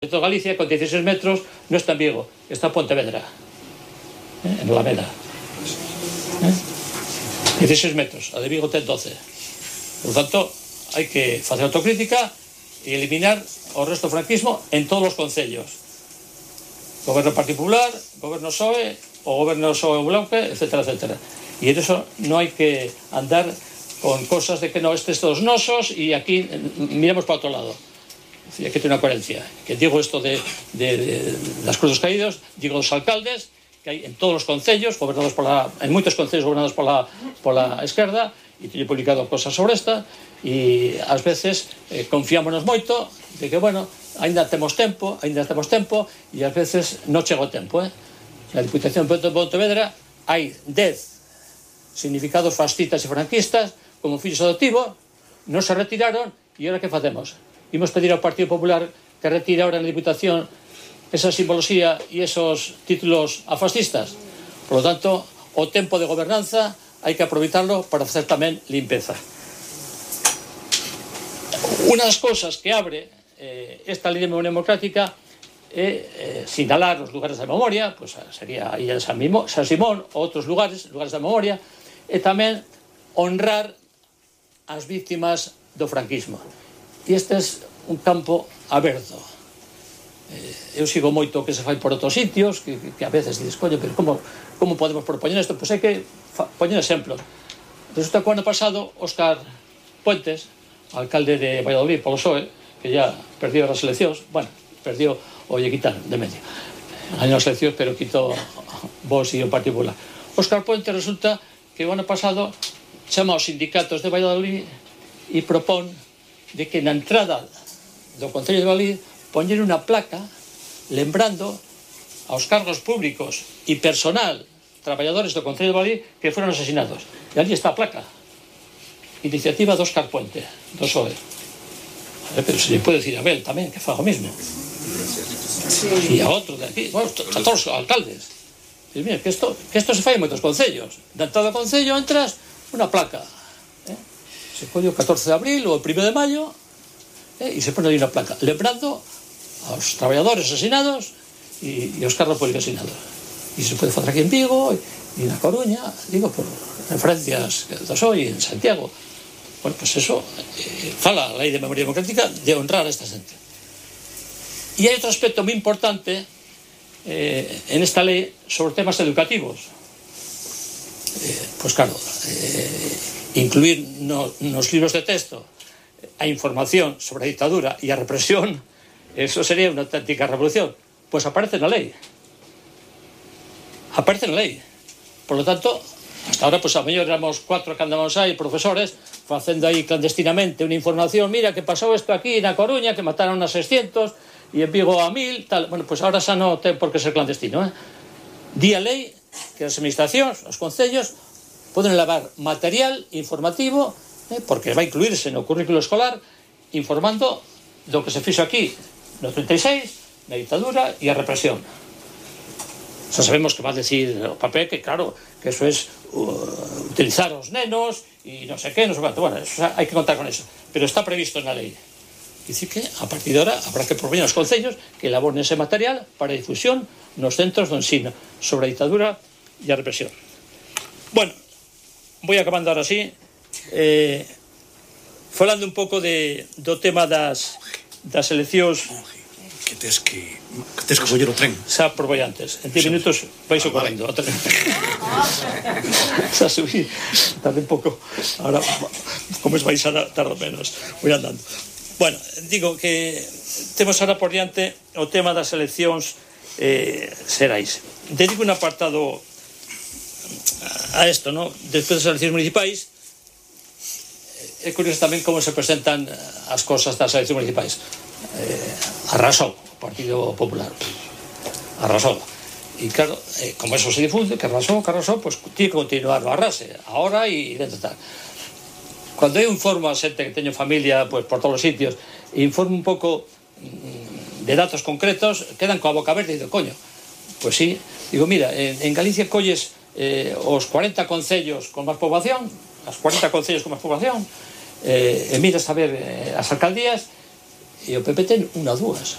de toda Galicia, con 16 metros, no está en Vigo, está en Pontevedra, en Alameda. 16 metros, a de Vigo ten 12. Por lo tanto, hai que facer autocrítica e eliminar o resto do franquismo en todos os concellos. Goberno particular, goberno PSOE, o goberno PSOE Blanque, etcétera, etcétera. E en eso non hai que andar con cosas de que no, estes todos nosos e aquí miremos para outro lado. Hay que tener una coherencia. Que digo esto de las cruces caídos, digo los alcaldes que hay en todos los concellos, gobernados en muchos concellos gobernados por la izquierda, y he publicado cosas sobre esta, y a veces confiámonos moito de que, bueno, ainda temos tempo, e a veces non chega o tempo. Na Diputación de Pontevedra hai 10 significados fascistas e franquistas como fillos adoptivos, non se retiraron, e ahora que facemos? Imos pedir ao Partido Popular que retire ahora na Diputación esa simbología e esos títulos a fascistas. Por lo tanto, o tempo de gobernanza hai que aproveitarlo para facer tamén limpeza. Unha das cousas que abre esta lei de memoria democrática é sinalar os lugares da memoria, pues sería a Illa de San Simón ou outros lugares da memoria, e tamén honrar as víctimas do franquismo. E este é un campo aberto. Eu sigo moito que se fai por outros sitios, que a veces dices, coño, pero como podemos propoñer isto? Pois hai que poñer exemplos. Resulta que o ano pasado Óscar Puentes, alcalde de Valladolid polo PSOE, que ya perdió as eleccións, bueno, perdió o lle quitaron de medio. Gañou as eleccións, pero quitou Vox e o Partido Popular. Óscar Puentes resulta que o ano pasado chama aos sindicatos de Valladolid e propón de que na entrada do Concello de Valladolid poñer unha placa lembrando aos cargos públicos e personal traballadores do Concello de Valladolid que foron asesinados. E ali está a placa. Iniciativa de Óscar Puente, do PSOE. Pero se lle pode decir a Abel tamén que faga o mismo. E a outro de aquí, bueno, a todos os alcaldes. Diz, mira, que isto se fai en moitos concellos. Da entrada do concello entras unha placa. Se colle o 14 de abril ou o 1 de maio e se pone ali unha placa lembrando aos traballadores asesinados e aos cargos públicos asesinados. E se pode facer aquí en Vigo e na Coruña, digo, por referencias do PSOE en Santiago. Bueno, pues eso fala a Lei de Memoria Democrática de honrar a esta xente. E hai outro aspecto moi importante en esta lei sobre temas educativos. Pues claro, incluir nos libros de texto a información sobre a dictadura e a represión, eso sería unha auténtica revolución. Pois aparece na lei. Por lo tanto, hasta ahora, pues a mellor éramos 4 que andamos aí, profesores, facendo aí clandestinamente unha información, mira, que pasou isto aquí na Coruña, que mataron a 600 e en Vigo a 1000, tal. Bueno, pues ahora xa non ten por que ser clandestino. Di a lei que as administracións, os concellos, poden levar material informativo, porque vai incluirse no currículo escolar, informando do que se fixo aquí no 36, na dictadura e a represión. Xa sabemos que va a decir o papel que, claro, que eso es utilizar os nenos e non sei que, non sei quanto. Bueno, hai que contar con eso. Pero está previsto na lei. Dicir que, a partir de ahora, habrá que propoñer aos concellos que elaboren ese material para difusión nos centros de ensino sobre a dictadura e a represión. Bueno, voy acabando ahora sí, falando un pouco do tema das eleccións. Que tes que coller o tren. Xa por vai antes, en 10 minutos vais correndo. Xa subí, tarde un pouco. Ahora, como es vais a tardar menos, voy andando. Bueno, digo que temos ahora por diante o tema das eleccións xerais. Dedico un apartado a esto, ¿no? Despois das eleccións municipais, é curioso tamén como se presentan as cosas das eleccións municipais. Arrasou o Partido Popular, arrasou, e claro, como eso se difunde, que arrasou, pues tiene que continuar o arrase ahora e dentro tal. Cando eu informo a xente que teño familia pues por todos os sitios e informo un pouco de datos concretos, quedan coa boca verde e digo, coño, pues sí, digo, mira, en Galicia colles os 40 concellos con máis poboación, as 40 concellos con máis poboación, e miras a ver as alcaldías e o PP ten unha ou dúas.